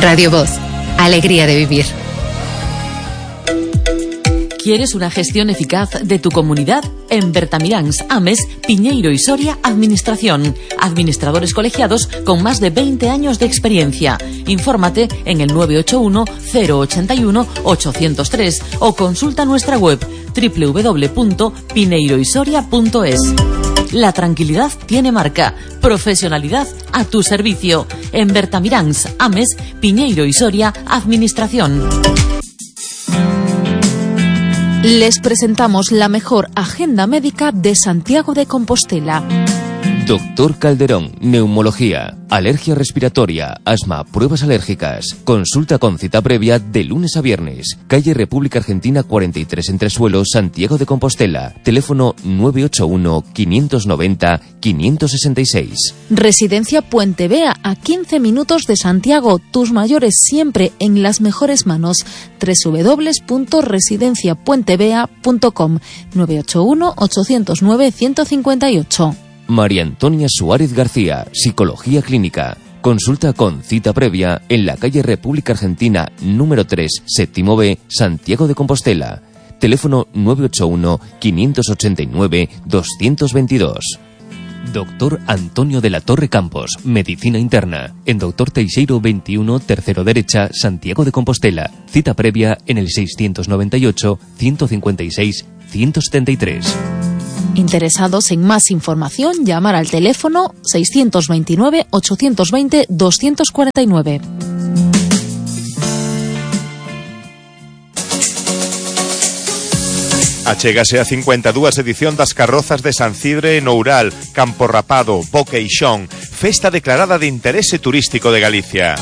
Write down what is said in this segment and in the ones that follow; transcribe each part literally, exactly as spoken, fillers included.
Radio Voz, alegría de vivir. ¿Quieres una gestión eficaz de tu comunidad? En Bertamiráns, Ames, Piñeiro y Soria, Administración. Administradores colegiados con más de veinte años de experiencia. Infórmate en el nueve ocho uno, cero ocho uno, ocho cero tres o consulta nuestra web doble u doble u doble u punto pineiro y soria punto es. La tranquilidad tiene marca. Profesionalidad a tu servicio. En Bertamiráns, Ames, Piñeiro y Soria, Administración. Les presentamos la mejor agenda médica de Santiago de Compostela. Doctor Calderón, neumología, alergia respiratoria, asma, pruebas alérgicas. Consulta con cita previa de lunes a viernes. Calle República Argentina cuarenta y tres Entresuelo, Santiago de Compostela. Teléfono nueve ocho uno, quinientos noventa, quinientos sesenta y seis. Residencia Puente Vea, a quince minutos de Santiago. Tus mayores siempre en las mejores manos. doble u doble u doble u punto residencia puente vea punto com. nueve ocho uno, ocho cero nueve, uno cinco ocho. María Antonia Suárez García, Psicología Clínica. Consulta con cita previa en la calle República Argentina número tres, séptimo B, Santiago de Compostela. Teléfono nueve ocho uno, quinientos ochenta y nueve, doscientos veintidós. Doctor Antonio de la Torre Campos, Medicina Interna. En Doctor Teixeiro veintiuno, tercero derecha, Santiago de Compostela. Cita previa en el seiscientos noventa y ocho, ciento cincuenta y seis, ciento setenta y tres. Interesados en más información, llamar al teléfono seiscientos veintinueve, ochocientos veinte, doscientos cuarenta y nueve. Achégase a cincuenta e dúas edición das carrozas de San Cidre en Oural, Campo Rapado, Boqueixón, festa declarada de interese turístico de Galicia.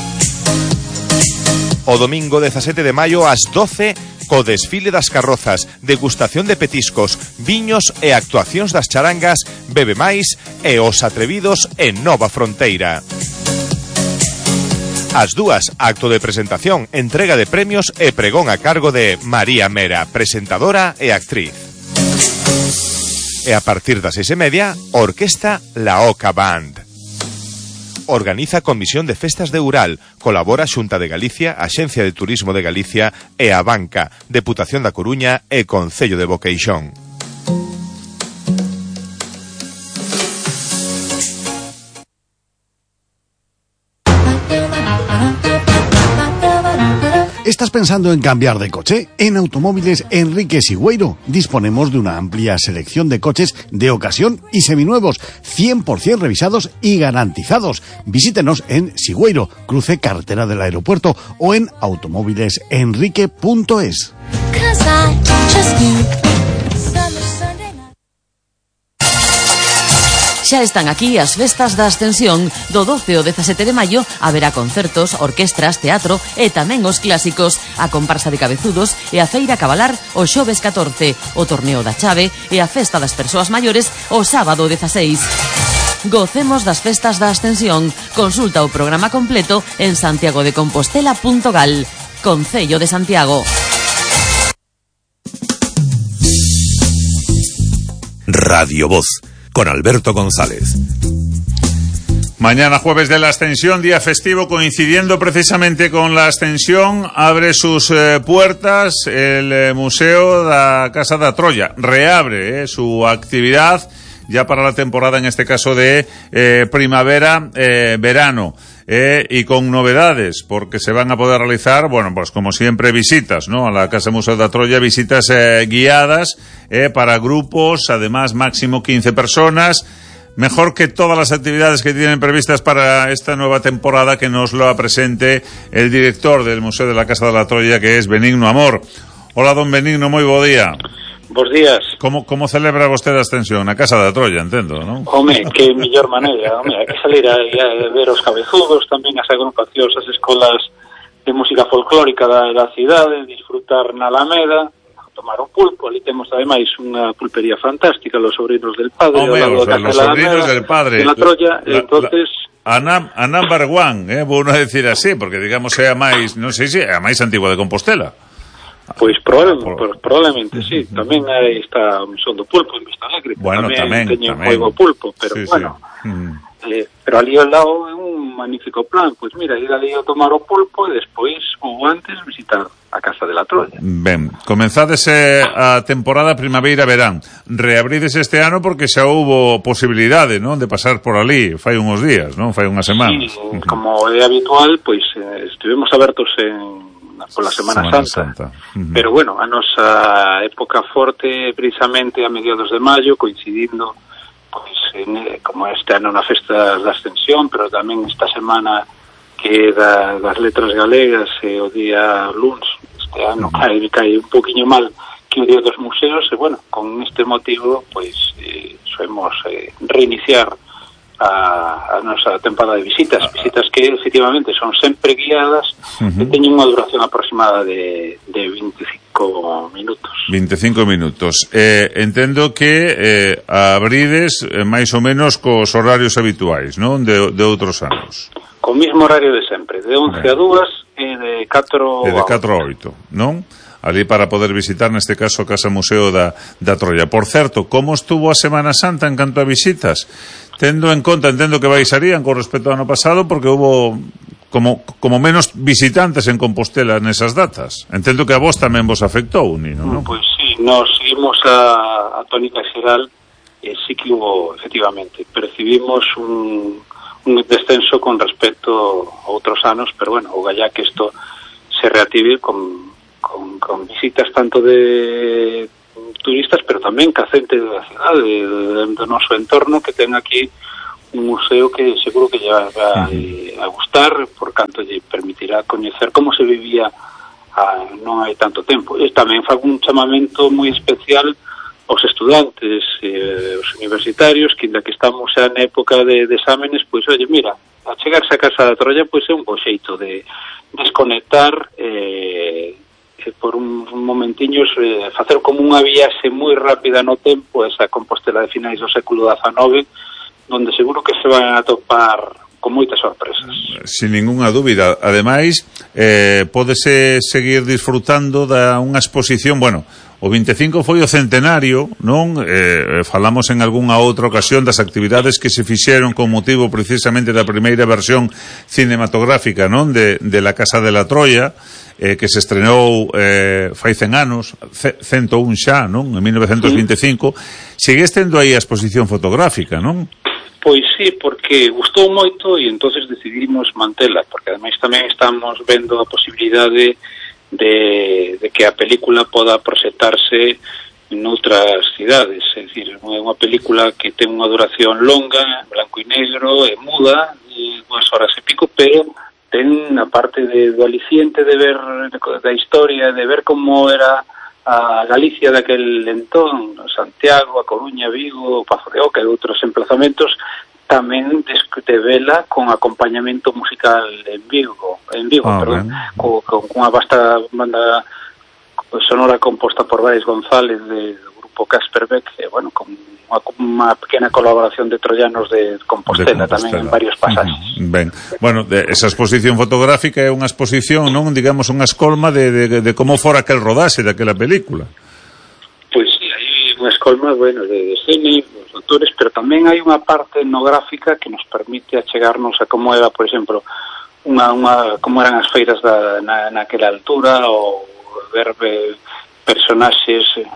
O domingo dezasete de maio ás doce, co desfile das carrozas, degustación de petiscos, viños e actuacións das charangas, Bebe Máis e Os Atrevidos en Nova Fronteira. As dúas, acto de presentación, entrega de premios e pregón a cargo de María Mera, presentadora e actriz. E a partir das seis e media, Orquesta La Oca Band. Organiza Comisión de Festas de Oural, colabora Xunta de Galicia, Axencia de Turismo de Galicia e a Banca, Deputación da Coruña e Concello de Boqueixón. ¿Estás pensando en cambiar de coche? En Automóviles Enrique Sigüeiro disponemos de una amplia selección de coches de ocasión y seminuevos, cien por ciento revisados y garantizados. Visítenos en Sigüeiro, cruce carretera del aeropuerto, o en automóviles enrique punto es. Xa están aquí as festas da Ascensión. Do doce ao dezasete de maio haberá concertos, orquestras, teatro e tamén os clásicos, a comparsa de cabezudos e a feira cabalar o xoves catorce, o torneo da chave e a festa das persoas maiores o sábado dezaseis. Gocemos das festas da Ascensión. Consulta o programa completo en santiago de compostela punto gal. Concello de Santiago. Radio Voz, con Alberto González. Mañana jueves de la Ascensión, día festivo, coincidiendo precisamente con la Ascensión, abre sus eh, puertas el eh, Museo da Casa da Troya. Reabre eh, su actividad ya para la temporada, en este caso de eh, primavera, eh, verano. Eh, y con novedades, porque se van a poder realizar, bueno, pues como siempre, visitas, ¿no? A la Casa Museo da Troya, visitas eh, guiadas eh, para grupos, además máximo quince personas. Mejor que todas las actividades que tienen previstas para esta nueva temporada, que nos lo presente el director del Museo de la Casa da Troya, que es Benigno Amor. Hola, don Benigno, moi bo día. Bos días. Como, como celebra vostede a Ascensión? Na Casa da Troya, entendo, non? Home, que mellor maneira, home, hai que salir a, a ver os cabezudos, tamén as agrupacións, as escolas de música folclórica da, da cidade, disfrutar na Alameda, tomar un pulpo. Ali temos ademais unha pulpería fantástica, los sobrinos del padre, Home, ao lado os, da los Casa sobrinos Alameda, del padre. de la Troya, la, entonces... La, a, a number one, eh, vou non decir así, porque digamos é a máis, non sei se é a máis antigua de Compostela. Pois probablemente, por... probablemente sí. Tamén aí está o Mesón do Pulpo en Vista Alegre. Bueno, tamén, tamén teñen tamén. Juego Pulpo, pero sí, bueno. Sí. Mm. Eh, pero ali ao lado é un un magnífico plan. Pois mira, ir ali a tomar o pulpo e despois, ou antes, visitar a Casa de la Troya. Ben, comenzádese a temporada primavera-verán. Reabrides este ano porque xa houbo posibilidade, non, de pasar por ali fai uns días, non? Fai unhas semanas. Sí, como é habitual, pois eh, estivemos abertos en pola Semana, Semana Santa, Santa. Uh-huh. Pero bueno, a nosa época forte precisamente a mediados de maio, coincidindo pois, en, como este ano na Festa da Ascensión, pero tamén esta semana que da, das letras galegas e o día luns, este ano uh-huh. cae, cae un poquinho mal que o día dos museos, e bueno, con este motivo pois eh, soemos eh, reiniciar a, a nosa tempada de visitas, visitas que efectivamente son sempre guiadas uh-huh. e teñen unha duración aproximada de, de veinticinco minutos. veinticinco minutos. Eh, entendo que eh, abrides eh, máis ou menos cos horarios habituais, non? De, de outros anos. Co mismo horario de sempre, de once a dúas e de catro a oito, non? Ali para poder visitar, neste caso, a Casa Museo da, da Troya. Por certo, como estuvo a Semana Santa en canto a visitas? Tendo en conta, entendo que baixarían con respecto ao ano pasado, porque hubo como, como menos visitantes en Compostela nesas datas. Entendo que a vos tamén vos afectou, Nino, non? Pois sí, nos seguimos a, a tónica xeral, e sí que hubo, efectivamente, percibimos un, un descenso con respecto a outros anos, pero bueno, o gallá que isto se reactive con, con, con visitas tanto de turistas, pero tamén ca xente da cidade, do noso entorno, que ten aquí un museo que seguro que lle vai a gustar, por canto lle permitirá coñecer como se vivía a, non hai tanto tempo. E tamén fago un chamamento moi especial aos estudantes, eh, os universitarios, que inda que estamos xa na época de, de exámenes, pois, oye, mira, a chegarse a Casa da Troya, pois é un bo xeito de desconectar, eh, por un, un momentiños, eh, facer como unha viaxe moi rápida no tempo, esa Compostela de finais do século dezenove, donde seguro que se van a topar con moitas sorpresas. Sin ninguna dúbida. Ademais, eh, pódese seguir disfrutando da unha exposición, bueno, o veinticinco foi o centenario, non? Eh, falamos en algunha outra ocasión das actividades que se fixeron con motivo precisamente da primeira versión cinematográfica, non? De, de la Casa de la Troya, eh, que se estrenou eh, fai cen anos, cento un xa, non? En mil novecentos veinticinco. Sí. Segues tendo aí a exposición fotográfica, non? Pois sí, porque gustou moito e entonces decidimos mantela, porque ademais tamén estamos vendo a posibilidade de, de que a película poda proxectarse en outras cidades, é dicir, é unha película que ten unha duración longa, blanco e negro, e muda, de dúas horas e pico, pero ten a parte de, do aliciente de ver da historia, de ver como era a Galicia daquel entón, Santiago, a Coruña, Vigo, Pazo de Oca e outros emplazamentos, tamén de vela con acompañamento musical en Vigo, en Vigo, ah, perdón, co, con unha vasta banda sonora composta por Brais González de, do grupo Casper Beck, e, bueno, con unha, unha pequena colaboración de troyanos de Compostela, de Compostela. Tamén en varios pasajes. Uh-huh. Ben, bueno, de, esa exposición fotográfica é unha exposición, non, digamos, unha escolma de, de, de como fora aquel rodaxe daquela película. Pois sí, hai unha escolma, bueno, de, de cine, dos autores, pero tamén hai unha parte etnográfica que nos permite achegarnos a como era, por exemplo, unha, unha, como eran as feiras da, na, naquela altura, ou ver eh, personaxes eh,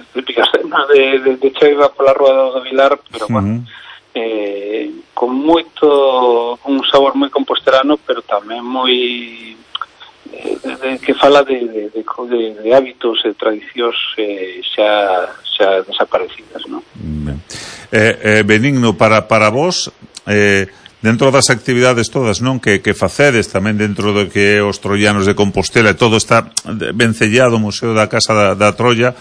típicas cenas de, de, de Cheiva pola Rúa do Vilar, pero uh-huh. bueno, eh, con moito, un sabor moi compostelano, pero tamén moi eh, de, de, que fala de, de, de, de, de hábitos e tradicións eh, xa, xa desaparecidas, non? Eh, eh, Benigno, para, para vos, eh, dentro das actividades todas, non, que, que facedes tamén dentro do que é os troianos de Compostela, e todo está vencellado o Museo da Casa da, da Troya,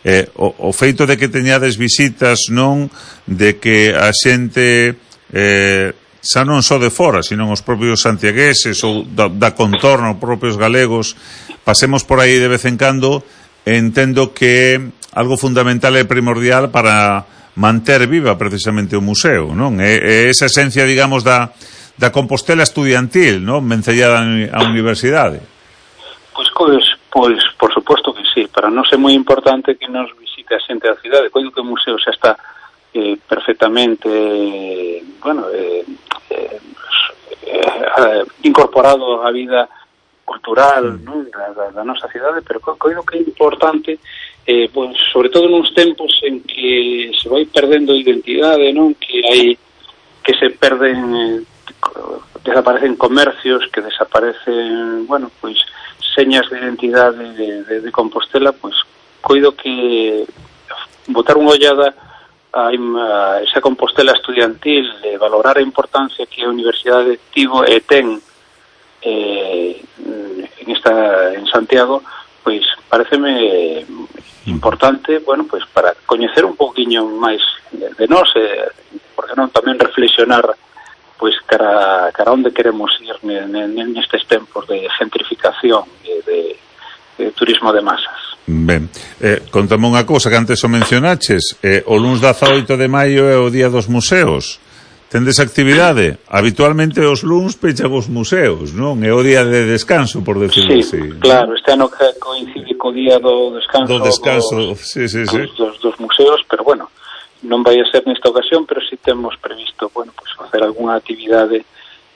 eh, o, o feito de que teñades visitas, non, de que a xente eh, xa non só de fora, sino os propios santiagueses ou da, da contorno, os propios galegos, pasemos por aí de vez en cando, entendo que algo fundamental e primordial para manter viva precisamente o museo, non? É, é esa esencia, digamos, da, da Compostela estudiantil, non? Vencellada á universidade. Pois, pois, pois, por suposto que sí. Para nós é moi importante que nos visite a xente da cidade. Coido que o museo xa está eh, perfectamente eh, bueno eh, eh, eh, incorporado á vida cultural, non, da, da, da nosa cidade, pero coido que é importante, eh, pues, sobre todo nuns tempos en que se vai perdendo identidade, non, que hai que se perden, desaparecen comercios, que desaparecen, bueno, pois señas de identidade de, de, de Compostela, pois coido que botar unha ollada a, a esa Compostela estudiantil, de valorar a importancia que a Universidade tivo e ten eh, en esta en Santiago, pois pareceme importante, bueno, pois para coñecer un pouquiño máis de, de nós, eh, porque non tamén reflexionar pois cara, cara onde queremos ir nestes tempos de gentrificación e de, de turismo de masas. Ben, eh, contame unha cousa que antes o mencionaches, eh, o luns dezaoito de maio é o Día dos Museos. Tendes actividade? Habitualmente os luns pechan os museos, non? É o día de descanso, por decirlo sí, así. Claro, este ano coincide co día do descanso, do descanso dos, sí, sí, sí. Dos, dos museos, pero bueno, non vai a ser nesta ocasión, pero si temos previsto, bueno, pues facer algunha actividade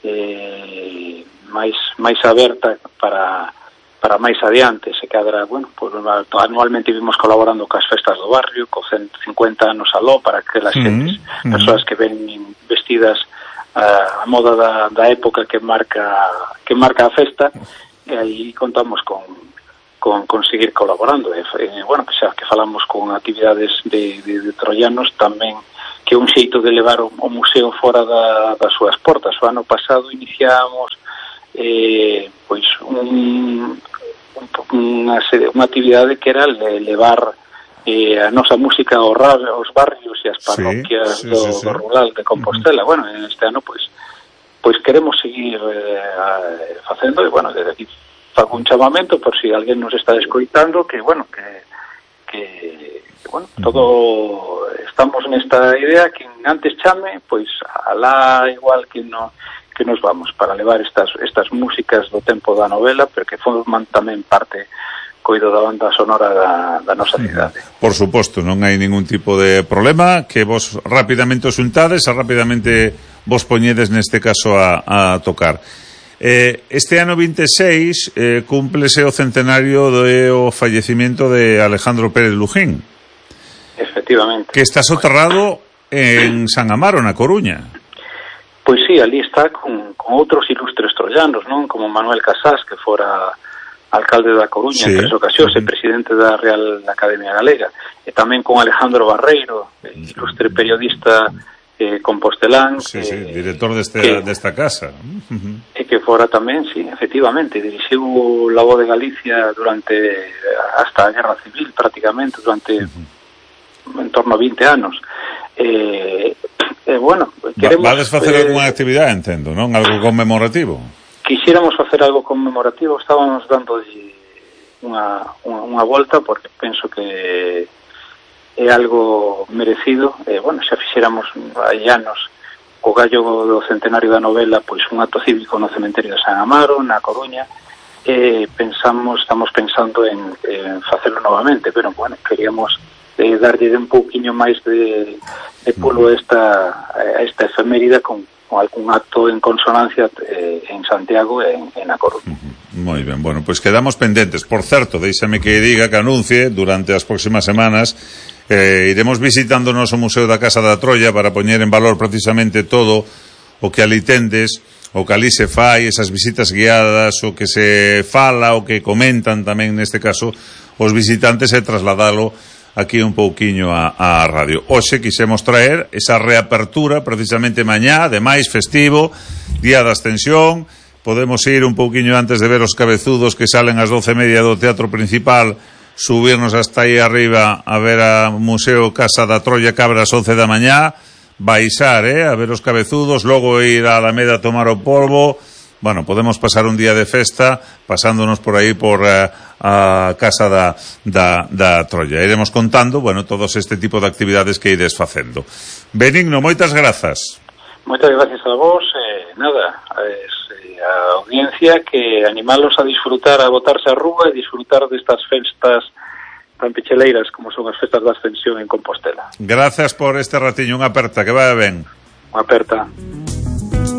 eh, máis máis aberta para para máis adiante, se cadra, bueno, pues anualmente vimos colaborando cas festas do barrio, co ciento cincuenta anos aló, para que las xentes, mm-hmm. persoas que ven vestidas a, a moda da, da época que marca que marca a festa, e aí contamos con con conseguir colaborando. E, e, bueno, que xa que falamos con actividades de, de, de troianos, tamén que é un xeito de levar o, o museo fora da, das súas portas. O ano pasado iniciamos eh, pois un, un, unha, unha actividade que era levar eh, a nosa música aos, aos barrios e as parroquias sí, sí, do, sí, sí. do rural de Compostela. Uh-huh. Bueno, en este ano pois pois queremos seguir eh, facendo, e bueno, desde aquí fago un chamamento por si alguén nos está escoitando, que bueno, que que, que bueno, todo estamos nesta idea, que antes chame, pois alá igual que no que nos vamos para levar estas estas músicas do tempo da novela, pero que forman tamén parte coido da banda sonora da, da nosa cidade. Por suposto, non hai ningún tipo de problema, que vos rapidamente os untades, a rapidamente vos poñedes neste caso a, a tocar. Eh, este ano vinte e seis eh, cúmplese o centenario do fallecimiento de Alejandro Pérez Lujín. Efectivamente. Que está soterrado en San Amaro, na Coruña. Pois sí, ali está con, con outros ilustres troianos, non? Como Manuel Casás, que fora alcalde da Coruña, sí, en tres ocasións, uh-huh. e presidente da Real Academia Galega, e tamén con Alejandro Barreiro, ilustre periodista eh, compostelán, sí, que, sí, director deste, que, desta casa, uh-huh. e que fora tamén, sí, efectivamente, dirixiu La Voz de Galicia durante hasta a Guerra Civil, prácticamente, durante uh-huh. en torno a vinte anos. Eh, eh, bueno, queremos... Vades facer eh, algunha actividade, entendo, non? Algo conmemorativo? Quixéramos facer algo conmemorativo, estábamos dando unha, unha, unha volta, porque penso que é algo merecido. Eh, bueno, xa fixéramos hai anos o gallo do centenario da novela, pois un acto cívico no cementerio de San Amaro, na Coruña, e pensamos, estamos pensando en, en facelo novamente, pero bueno, queríamos eh, darlle un pouquiño máis de, de pulo a esta, a esta efeméride con con algún acto en consonancia eh, en Santiago e en, en A Coruña. Moi ben, bueno, pois pues quedamos pendentes. Por certo, deixame que diga, que anuncie durante as próximas semanas eh, iremos visitando o noso Museo da Casa da Troia para poñer en valor precisamente todo o que ali tendes, o que ali se fai, esas visitas guiadas, o que se fala, o que comentan tamén neste caso os visitantes, e trasladalo aquí un pouquiño a, a radio. Hoxe quixemos traer esa reapertura precisamente mañá, ademais festivo, Día da Ascensión. Podemos ir un pouquiño antes de ver os cabezudos que salen ás doce e media do Teatro Principal, subirnos hasta aí arriba a ver a Museo Casa da Troia, que abre ás once da mañá, baixar, eh, a ver os cabezudos, logo ir a Alameda a tomar o polvo. Bueno, podemos pasar un día de festa pasándonos por aí por uh, a Casa da, da, da Troia. Iremos contando, bueno, todos este tipo de actividades que ides facendo. Benigno, moitas grazas. Moitas gracias a vos. Eh, nada, es, eh, a audiencia, que animalos a disfrutar, a botarse a rúa e disfrutar destas festas tan picheleiras como son as festas da Ascensión en Compostela. Gracias por este ratiño, unha aperta, que vaya ben. Unha aperta.